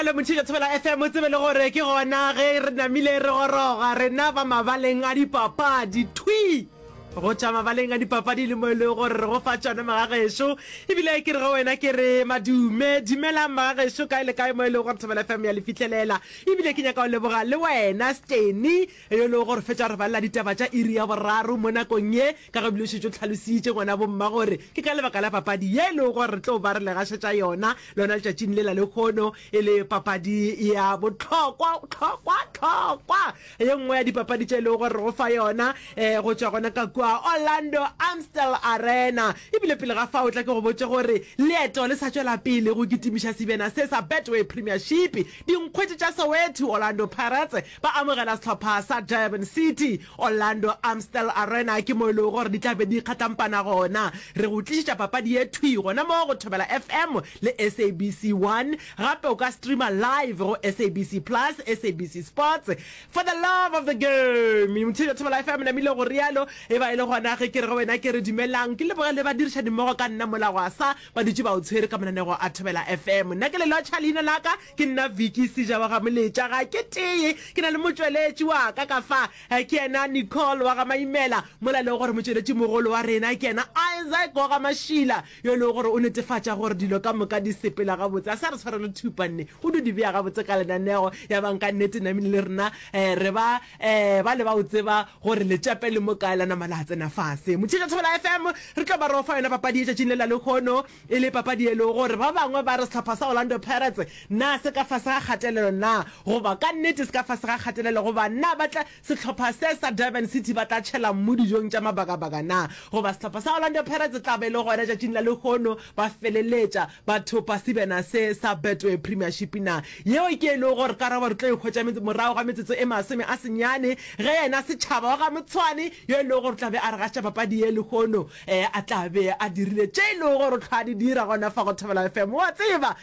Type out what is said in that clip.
rialo Motšhitša Thobela FM o tsebe le gore ke gona ge re namile re goroga rena ba mabaleng a dipapadi thwi go tšwa mabaleng a dipapadi le mo e lego gore re go fa tšona magagešo ebile ke re go wena ke re madume dumelang magagešo kae le kae mo e lego gore Thobela FM ya le fihlelela ebile ke nyaka go leboga le wena Steny yo e lego gore fetša re balela ditaba tša iri ya boraro mo nakong ye Ka ge ebile o šetše o hlalositše ngwana bomma gore ke ka lebaka la papadi ye e lego gore re tlo ba re le gašetša yona lona letšatšing le la lehono, e le papadi ya bohlokwa hlokwa hlokwa, ye nngwe ya dipapadi tše e lego gore re go fa yona um go tšwa gona ka kua Orlando Amstel Arena. Ebile pele ga fao tla ke go botše gore leeto le sa tšwela pele go kitimiša sebjana se sa Betway Premiership. Dinkgwete tša Soweto, Orlando Pirates, ba amogela sehlopha sa Durban City. Orlando Amstel Arena ke mo e lego gore di tla be di kgatlampana gona. Re go tlišetša papadi ye thwi gona mo go Thobela FM le SABC 1. Gape o ka streama live go SABC Plus, SABC Sports. For the love of the game! Motheetši wa Thobela FM namile go realo e ba e le gona ge ke re go wena ke re dumelang. Ke leboge le badirišanimmogo ka nna mola gwa sa ba dutše ba o tshwere ka mananego a Thobela FM. Nna ke le lotšha leina la ka Ke nna Vicky Seja wa ga Moletša. Ga ke tee, ke na le motšweletši wa ka ka fa, ke yena Nicole wa ga Maimela, mola e lego gore motšweletši mogolo wa rena ke yena Isaac wa ga Mašila, yo e lego gore o netefatša gore dilo ka moka di sepela gabotse. A sa re tshwarele thupa nne, o dio di bea gabotse ka lenanego. Ya bang ka nnete namile le rena re ba ba le ba o tseba gore letšape le mo kae la nama la tsena fase. Motšheetša Thobela FM, re tlo ba re o fa yona papadi ye tšatšing le la lehono. E le papadi e lego gore ba bangwe ba re sehlopha sa Orlando Pirates na se ka fase ga kgatelelo na, goba ka nnete se ka fase ga kgatelelo, goba na ba tla, sehlopha se sa Durban City ba tla tšhela mmu dijong tša mabakabaka na, goba sehlopha sa Orlando Pirates tla be e le gona tšatšing la lehono ba feleletša ba thopa sebjana se sa Betway Premiership na. Yeo ke e lego gore karabo re tlo e hwetša morago ga metsotso e 80 ge yena Setšhaba wa ga Motshwane yo e lego gore o tla be a re gašetša papadi ye lehono E, a tla be a dirile tše e lego gore o hlwa a di dira gona fa go Thobela FM. O a tseba!